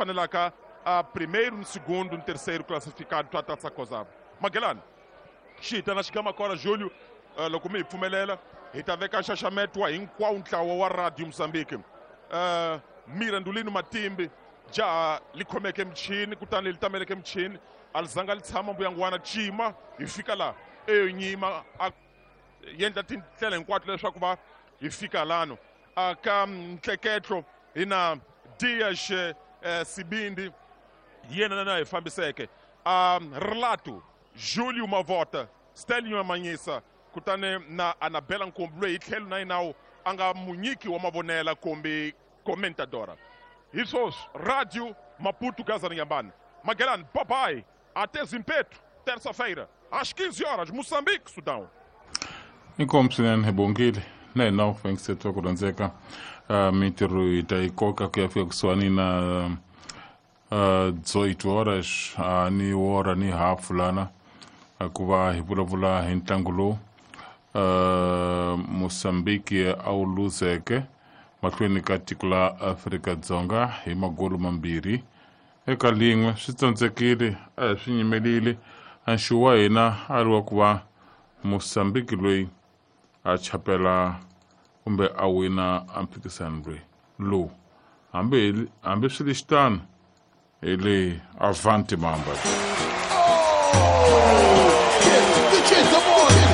Fanelaka a primeiro, no segundo, no terceiro classificado ta Taça COSAFA. Magellan xi na xigama kona Júlio, loko mi hi pfumelela hi ta veka nxaxameto wa hinkwawo ntlawa wa Radio Mozambique. Mirandulino Matimbi jaha li khomeke michini, kutani li tameleke michini, a li zanga li tshama mbuyangwana cima hi fika laha eyo nyima a yendla tindlela hinkwato leswaku va hi fika lano. Ka ntleketlo hi na Dias Sibindi, yena na hi fambiseke Relato Julio Mavota, Stelio Manyisa, kutani na Anabela Nkumbi loyi hi tlhelo na yinawu a nga munyiki wa mavonela kumbe comentadora. Hi swoswi Radio Maputo Gaza Inhambane. Magellan, bye bye. Até Zimpeto, terça-feira, às 15 horas, Moçambique, Sudão. Inkomu swinene hi bongile na hina u fanekisetiwa ku rhandzeka. Mintirho hi ta yi koka ku ya fika kusuhani na 18 horas ni wora ni hafu lana, ku va hi vulavula hi ntlangu lowu Mozambique a wu luzeke mahlweni ka tiko la Afrika-Dzonga hi magolo 2-1. Swi tsandzekile, a hi swi nyimelile. Nxu wa hina a ri wa ku va Mozambique loyi a chapela kumbe a wina a mphikisano loyi lowu, hambi swi ri xitano hi le avanti mamba. Oh!